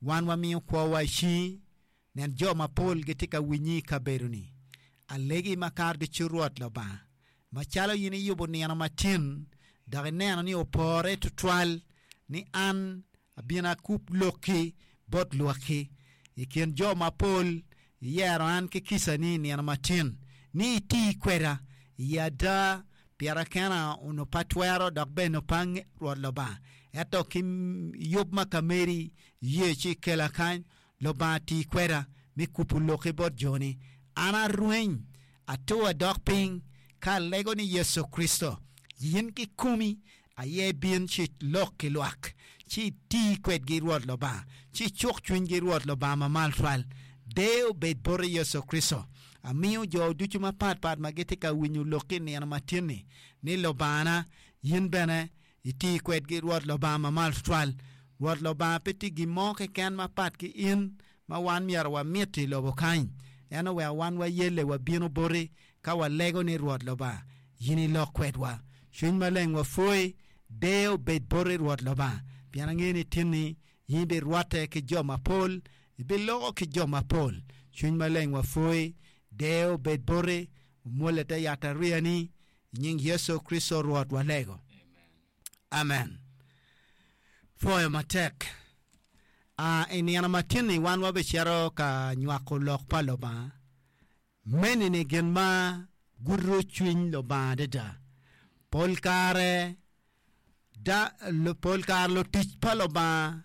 Wan wamiyo kwowa i cingi, nen jo mapol gitye ka winyi i kabedo-ni. Alegi makato ducu Rwot Lubanga, macalo in iyubo nino matin, dok ineno ni opore twatwal ni an abin akub lokki bot lwakki. I kin jo mapol iyero an ki kicani i nino matin, ni iti kweda i ada, pira kena onongo pe atwero dok bene onongo pe angeyo Rwot Lubanga. Ento ki yub ma ka meri iye ci ikela kany, Lubanga ti kweda me kubo lokki bot joni. An arweny, atur adok piny ka alego ni Yecu Kricito, in kikomi aye ibin ci ilok ki lwak, ci iti kwedgi Rwot Lubanga, ci icuk cwinygi Rwot Lubanga mamalo twal. Deyo obed boti Yecu Kricito. Amiyo jo ducu mapatpat ma gitye ka winyo lokki i nino matin-ni, ni Lubangana, in bene iti kwedgi Rwot Lubanga mamalo twatwal. Rwot Lubanga pe tye gin mo keken mapat ki in ma wan myero wamiti i lobo kany. En oweko wan wayelle wabino boti ka walego ni Rwot Lubanga, in ilok kwedwa. Cwiny Maleng wapwoyi, deyo obed boti Rwot Lubanga, pien angeyo ni tinni in ibirwatte ki jo mapol, ibiloko ki jo mapol. Cwiny Maleng wapwoyi, deyo obed boti, omwolle te yatariyani, I nying Yecu Kricito Rwot walego. Amen. Pwoyo matek. Uh, I nino matin-ni wan wabicito ka nywako lok pa Lubanga. Meni ni gin ma gudo cwiny Lubanga adada. Pol kare, da, pol kare lutic pa Lubanga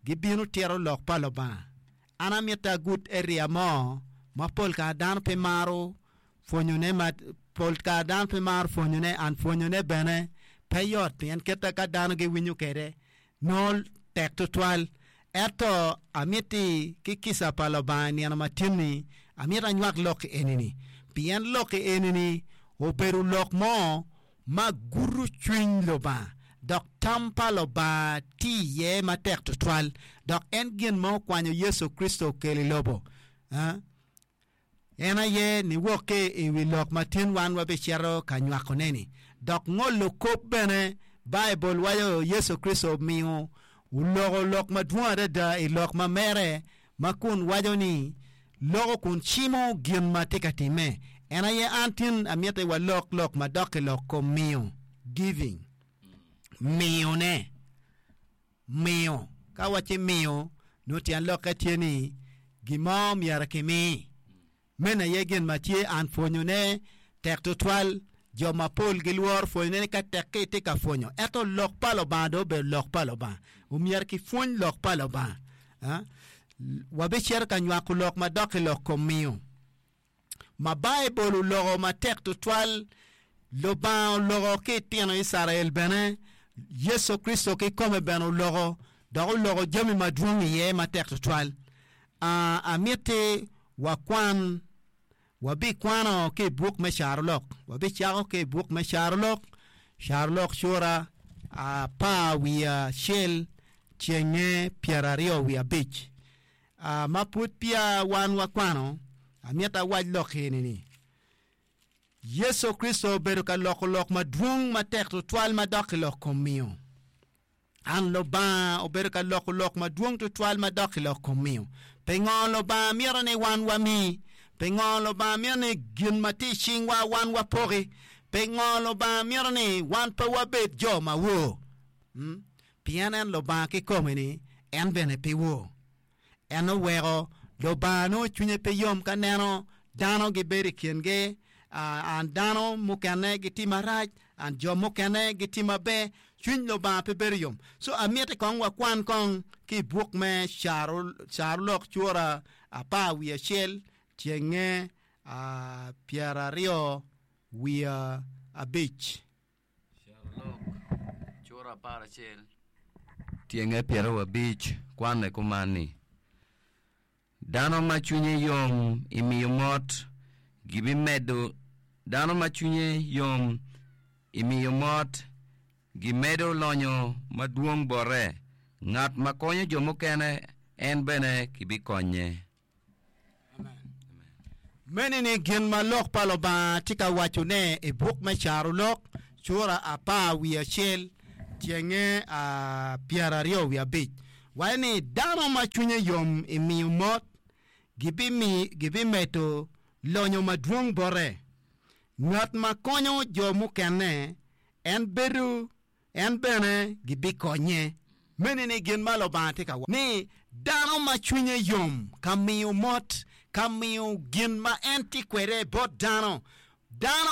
gibino tito lok pa Lubanga. An amito agud area mo ma pol kare dano pe maro pwonyone ma pol kare dano pe maro pwonyone and pwonyone bene pe yot pien kite ka dano giwinyo kwede nongo tek tutwal. Ento amiti ki kica pa Lubanga i nino matin-ni amito anywak lok eni-ni pien lok eni-ni obedo lok mo ma gudo cwiny Lubanga, dok tam pa Lubanga tye iye matek twatwal, dok en gin ma okwanyo Yecu Kricito okelo i lobo. En aye niwok ki i wi lok ma tin wan wabicito ka nywakone-ni. Dok ngolo kop bene, Baibul waco Yecu Kricito omiyo oloko lok madwong adada i lok ma mere ma kun waco ni loko kun cimo gin ma tye ka timme. En aye an tin amiti walok lok ma dok i lok kom miyo, giving, miyone, miyo. Ka wacci miyo, nongo tyen lokke tye ni gin mo myero kimi. Meno aye gin ma tye an pwonyone tek tutwal. Jo mapol gilworo pwonyone ni ka tek-ki itye ka pwonyo. Ento lok pa Lubanga dong obedo lok pa Lubanga. Omyero kipwony lok pa Lubanga. Wabicito ka nywako lok madok i lok kom miyo ma Baibul oloko matek tutwal. Lubanga oloko ki itino Icrael bene. Yecu Kricito kikome bene oloko dok oloko jami madwong iye matek tutwal. Amiti wakwan, wabikwano ki i buk me Carolok. Wabicako ki i buk me Carolok, Carolok cura apar wiye acel cenge pyeraryo wiye abic. Ma pud peya wan wakwano, amito awac lok eni ni, Yecu Kricito obedo ka loko lok madwong matek tutwal madok i lok kom miyo. An Lubanga obedo ka loko lok madwong tutwal ma dok i lok kom miyo. Pingo Lubanga mito ni wan wami? Pingo Lubanga mito ni gin ma tye i cingwa wan wapoki? Pingo Lubanga mito ni wan pe wabed jo ma wor? Hmm? Pien en Lubanga kikome-ni, en bene pe wor. En oweko Lubanga nongo cwinye pe yom ka neno dano gibedo i kingi, an dano mukene gitye marac, an jo mukene gitye maber, cwiny Lubanga pe bedo yom. So amiti kong wakwan kong ki i buk me Carolok cura apar wiye acel tyenge pyeraryo wiye abic. Carolok cura aparacel tyenge pyerawiabic kwanne kuman ni, Dano ma cwinye yom i miyo mot gibimedo Dano ma cwinye yom i miyo mot gimedo lonyo madwong bote, ngat ma konyo jo mukene en bene kibikonye. Meni ni gin ma Lok pa Lubanga tye ka wacone i buk me Carolok, cura apar wiye acel, tyenge pyeraryo wiye abic. Waco ni dano ma cwinye yom i miyo mot gibimedo lonyo madwong bote. Ngat ma konyo jo mukene, en bedo en bene gibikonye. Meno ni gin ma Lubanga tye ka waco ni dano ma cwinye yom ka miyo mot, ka miyo gin ma en tye kwede bot dano, dano.